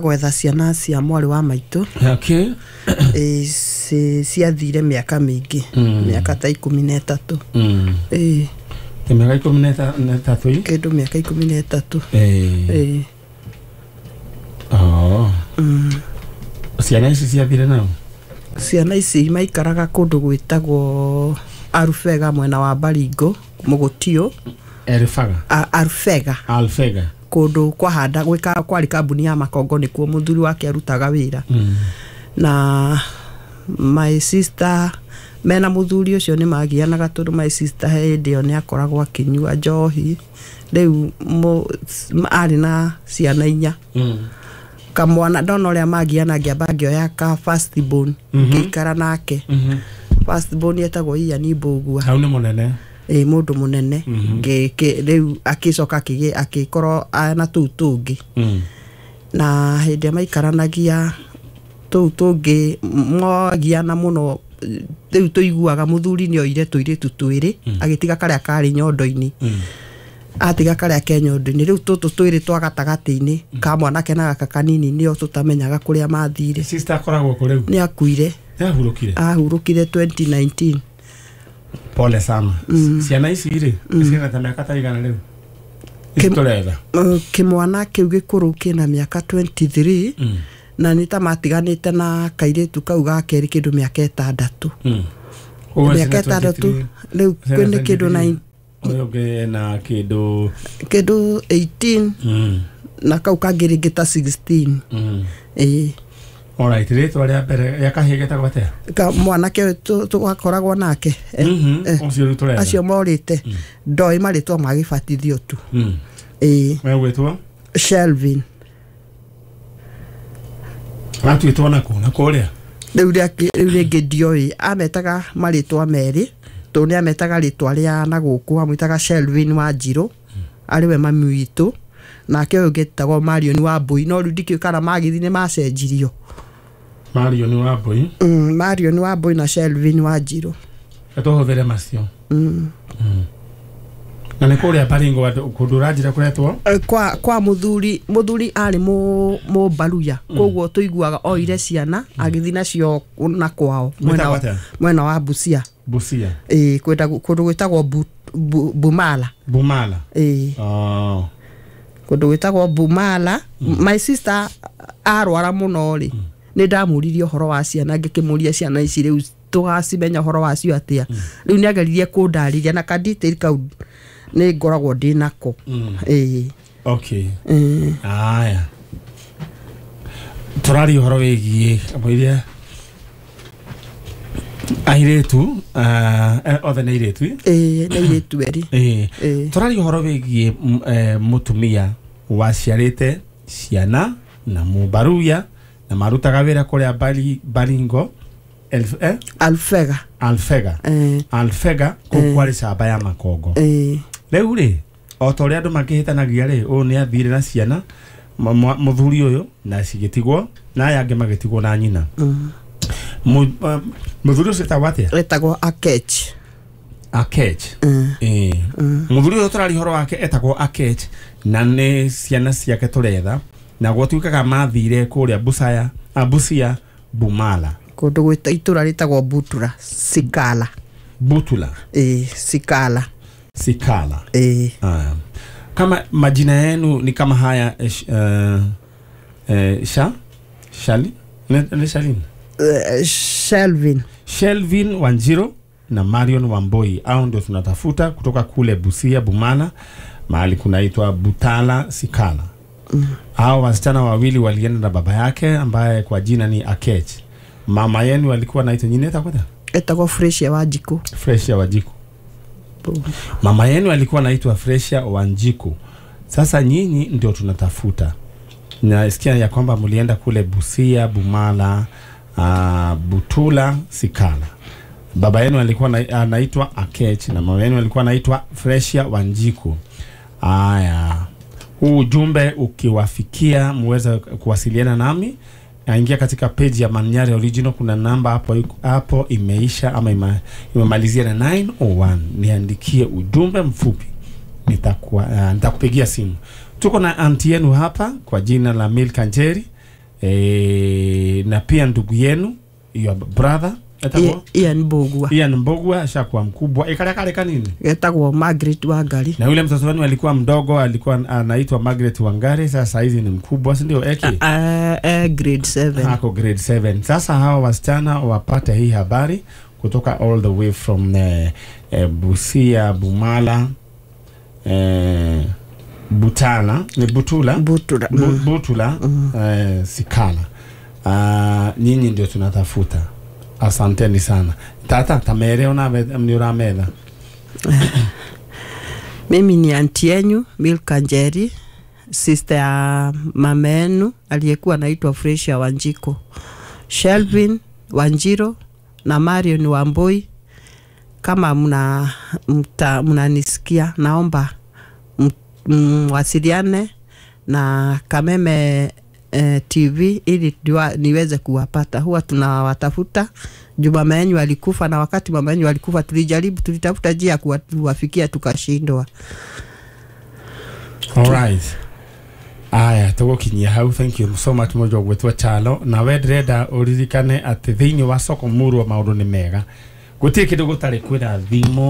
Gwetha ciana cia mwarĩ wa maitũ. Ciathire mĩaka mĩingĩ, mĩaka ta 13. Mĩaka 13? Kĩndũ mĩaka 13. Ciana ici ciathire nao? Ciana ici maikaraga kũndũ gwĩtagwo Arufega, mwena wa Baringo, Mũgũtio. Erfaga? Arufega. Alfega. Kũndũ kwahanda gwĩka kwarĩ kambuni ya makongo, nĩkuo mũthuri wake arutaga wĩra. Na my sister mena mũthuri ũcio nĩ magianaga, tondũ my sister he hĩndĩ ĩyo nĩ akoragwo akĩnyua njohi. Rĩu arĩ na ciana 4. Kamwana ndona ũrĩa magiana, ngĩamba ngĩoya ka first born, ngĩikara nake. First born etagwo Ian Mbũgua. Hau nĩ mũnene. Ĩ, mũndũ mũnene. Rĩu akĩcoka akĩkorwo na tũu tũngĩ. Na hĩndĩ ĩrĩa maikaranagia tũu tũngĩ mwagiana mũno, rĩu tũiguaga mũthuri nĩ oire tũirĩtu twĩrĩ, agĩtiga karĩa karĩ nyondo-inĩ. Atiga karĩa ke nyondo-inĩ, rĩu tũtũ twĩrĩ twa gatagatĩ-inĩ ka mwanake na gaka kanini nĩo tũtamenyaga kũrĩa mathire. Sister akoragwo kũ rĩu? Nĩ akuire. Nĩ ahurũkire? Ahurũkire 2019. Pole sana. Ciana ici rĩ, ciĩna ta mĩaka ta igana rĩu ici tũretha? Kĩmwana kĩu gĩkũrũ kĩna mĩaka 23, na nĩ ta matiganĩte na kairĩtu kau ga kerĩ kĩndũ mĩaka 6. Ũguo mĩaka ciĩna 6 23, rĩu ciĩna nĩ kĩndũ 23. 9. Ũyũ ũngĩ ena kĩndũ Kĩndũ 18, na kau kangĩ rĩngĩ ta 16. Ĩĩ. Alright, rĩtwa rĩa mbere rĩa kahĩĩ getagwo atĩa? Ka mwanake ũyũ twakoragwo nake, Ũcio rĩu tũretha. Acio morĩte ndoĩ marĩtwa ma gĩbatithio tu. Ĩĩ. We gwĩtwo? Shelvin. Atuĩtwo nakũ na kũrĩa? Rĩu rĩngĩ ndioĩ, ametaga marĩtwa merĩ, tondũ nĩ ametaga rĩtwa rĩa na gũkũ amwĩtaga Shelvin Wanjirũ, arĩ we mami witũ, nake ũyũ ũngĩ etagwo Marion wa Mbui, no rĩu ndikĩũĩ kana magĩthiĩ nĩ macenjirio. Marion wa Mbui. Marion wa Mbui na Shelvin Wanjirũ. Tũhũthĩre macio. Na nĩ kũrĩa Baringo kũndũ ũranjĩra kũretwo? Kwa mũthuri arĩ mũmbaruya, koguo tũiguaga oire ciana agĩthiĩ nacio na kwao mwena Gwĩtagwo atĩa? Mwena wa Busia. Busia. Ĩĩ, kũndũ gwĩtagwo Bumala. Bumala. Ĩĩ. Kũndũ gwĩtagwo Bumala. My sister arwara mũno rĩ, nĩ ndamũririe ũhoro wa ciana, ngĩkĩmũria ciana ici rĩu tũgacimenya ũhoro wacio atĩa. Rĩu nĩ ageririe kũndarĩria na ka detail kau nĩ ngoragwo ndĩ nako. Ĩĩ. Okay. Aya, tũraria ũhoro wĩgiĩ kamũiria airĩtu, othe nĩ airĩtu? Ĩĩ, nĩ airĩtu erĩ. Ĩĩ. Tũraria ũhoro wĩgiĩ mũtumia waciarĩte ciana na mũmbaruya na marutaga wĩra kũrĩa Baringo? Alfega. Alfega. Alfega, kũu kwarĩ camba ya makongo. Rĩu rĩ, o ta ũrĩa andũ makĩhĩtanagia rĩ, ũyũ nĩ athire na ciana, mũthuri ũyũ, na cigĩtigwo na aya angĩ magĩtigwo na nyina. Mũthuri ũcio etagwo atĩa? Etagwo Akech. Akech. Ĩĩ. Mũthuri ũyũ tũraria ũhoro wake etagwo Akech, na nĩ ciana ciake tũretha, na gwatuĩkaga mathire kũrĩa Busaya, Busia, Bumala. Kũndũ gwĩta itũra rĩtagwo Butura Sikala. Butula. Ĩĩ, Sikala. Sikala. Ĩĩ. Aya. Kama majina yenu ni kama haya, sha Shali ni Shalin? Shelvin. Shelvin Wanjiro na Marion Wamboi, au ndio tunatafuta kutoka kule Busia, Bumala, mahali kunaitwa Butala Sikala. Hao wasichana wawili walienda na baba yake ambaye kwa jina ni Akech. Mama yenu alikuwa anaitwa nyini etakwata? Etagwo Fresh Wanjiku. Fresh Wanjiku. Mama yenu alikuwa anaitwa Fresh Wanjiku. Sasa nyinyi ndio tunatafuta. Nasikia ya kwamba mlienda kule Busia, Bumala, Butula, Sikala. Baba yenu alikuwa anaitwa Akech na mama yenu alikuwa anaitwa Freshia Wanjiku. Aya. Huu ujumbe ukiwafikia muweze kuwasiliana nami. Ingia katika page ya Manyare Original, kuna namba hapo hapo imeisha ama imemalizia na 901. Niandikie ujumbe mfupi. Nitakupigia simu. Tuko na auntie yenu hapa kwa jina la Milka Njeri. Na pia ndugu yenu, your brother etagwo Ian Mbugua. Ian Mbugua ashakuwa mkubwa. Ikaria kale kanini Getagwo Margaret Wangari. Na yule mtoto wenu alikuwa mdogo, alikuwa anaitwa Margaret Wangari, sasa hizi ni mkubwa, si ndio? Eki Grade 7. Ako grade 7. Sasa hawa wasichana wapate hii habari kutoka all the way from Busia, Bumala, Butala, ni Butula. Butula. Butula, Sikala. Nyinyi ndio tunatafuta. Asanteni sana. Tata tamere ona ni urametha. Mimi ni anti yenyu Milka Njeri, sister ya mama yenu aliyekuwa anaitwa Fresia Wanjiko, Shelvin Wanjiro na Marion Wamboi. Kama mnanisikia, naomba mwasiliane na Kameme TV ili niweze kuwapata. Huwa tunawatafuta juu mama yenu alikufa, na wakati mama yenu alikufa tulijaribu, tulitafuta njia ya kuwafikia tukashindwa. Alright. Aya, tũgũkinyia hau. Thank you so much mũndũ ũgwĩtwo Chalo. Na we ndĩrenda ũririkane atĩ thĩinĩ wa soko murwa maũndũ nĩ mega, gũtirĩ kĩndũ gũtarĩ, kwĩna thimũ.